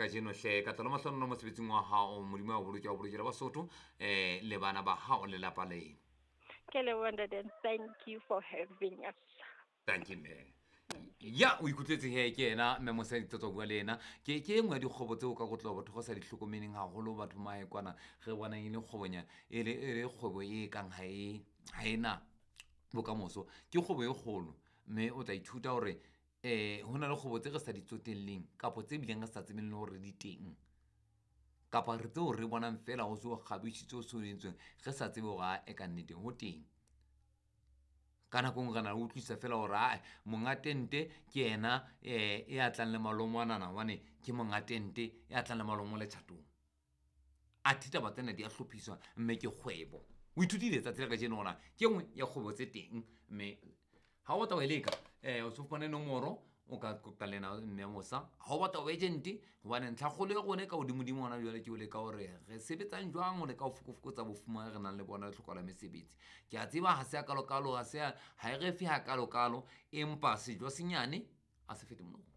kajeno hle ka tlalo mahlonolo mosebetsing wa hao. Modimo a o boloke, a o bolokele Basotho, le bana ba hao le lapa leno. Ke leboha ntate, thank you for having us. Thank you, mme. Ya o ikutlwetse he ke ena mme mosadi tsa bua le ena. Ke e nngwe ya dikgwebo tseo ka kotloba batho go sa di hlokomeleng haholo, batho mahe kwana re bonang e le kgwebonyana, e le kgwebo e kang ha e na bokamoso. Ke kgwebo e kgolo, mme o tla ithuta hore ho na le kgwebo tse re sa di tsotelleng kapa tse bileng re sa tsebeng le hore di teng, kapa re tseo re bonang fela ho se ho kgabisitswe, ho se ho entsweng, re sa tsebe hore a e ka nnete ho teng. Ka nako e nngwe re na le utlwisisa fela hore ae monga tente ke yena e a tlang le malomo anana, hobane ke monga tente e a tlang le malomo letjhatong. Athe taba tsena di a hlophiswa, mme ke kgwebo. O ithutile tsatsi la kajeno hore ke e nngwe ya kgwebo tse teng, mme ha o batla ho e leka, o so fumane nomoro, o ka qoqa le ena mme Mosa. Ha o batla ho agent, hobane ntlhakgolo ya rona e ka hodimodimo hona jwale ke ho leka hore re sebetsang jwang ho leka ho fokofokotsa bofuma re nang le bona le tlhokahalo ya mesebetsi. Ke a tseba ha se a kalokalo, ha se ha e re fe ha kalokalo, empa sejo senyane a se fete molomo.